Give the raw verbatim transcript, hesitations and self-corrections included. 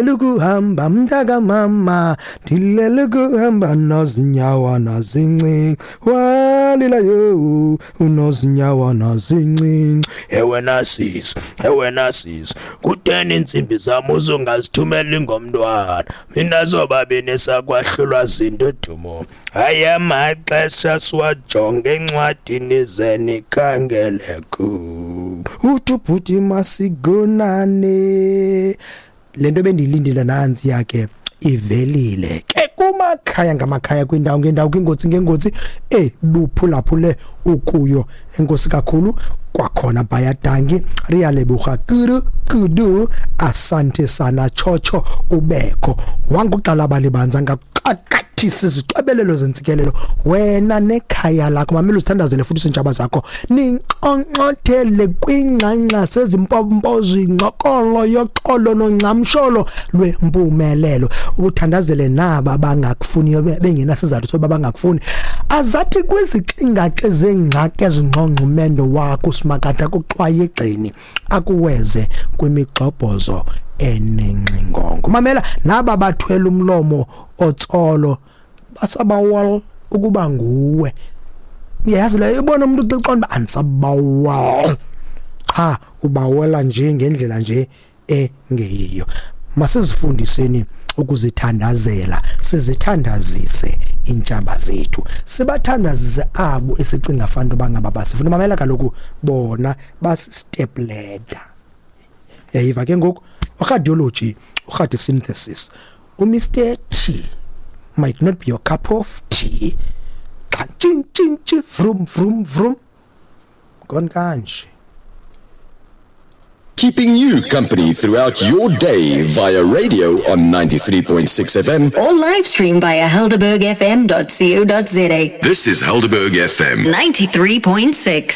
Lukuhamba mntaka mama ndilele kuhamba nozinyawana zincinci walilayo unozinyawana zincinci. Ewena sisi, ewena sisi, kutheni iintsimbi zam uzungazithumeli ngomntwana? Mina sobabini sakwahlulwa zindudumo. Hayi, amaxesha siwajonge encwadini zenikhangele ku uthi ubhuti masigonane. Le nto bendiyilindile nantsi yakhe ivelile ke kumakhaya ngamakhaya, kwindawo ngendawo, kwingozi ngengozi ebuphulaphule ukuyo. Enkosi kakhulu kwakhona, baie dankie, re a leboga kudu kudu, asante sana, tshotsho ubekho wanguxala balibanza ngakuxakathisa izixebelelo zentsikelelo wena nekhaya lakho. Mamela, uzithandazele futhi usintshaba zakho ninxonxothele kwingxangxa sezimpompo zingxokolo yoxolo nongcamsholo lwempumelelo. Ubuthandazele naba bangakufuniyo bengenasizathu soba bangakufuni, azathi kwizixingaxe zengxaki ezingqongqumendo wakho usimakade akuxwaye egxeni akuweze kwimigxobhozo enengxingongo. Mamela, naba bathwele umlomo otsolo basabawal ukuba nguwe. Uyayazi leyo, ubona umuntu uxoxa uba andisabawal qha, ubawela nje ngendlela nje engeyiyo. Masizifundiseni ukuzithandazela, sizithandazise iintshaba zethu, sibathandazise abo esicinga fanele uba ngaba basifuna. Mamela kaloku, bona basi-step ladder. Yayiva ke ngoku uradiology, uradiosynthesis, uMr T might not be your cup of tea. Xa tshing tshing tshi, vroom vroom vroom, gone kanje. Keeping you company throughout your day via radio on ninety-three point six F M. Or live stream via helderberg F M dot co dot za. This is Helderberg F M. ninety-three point six.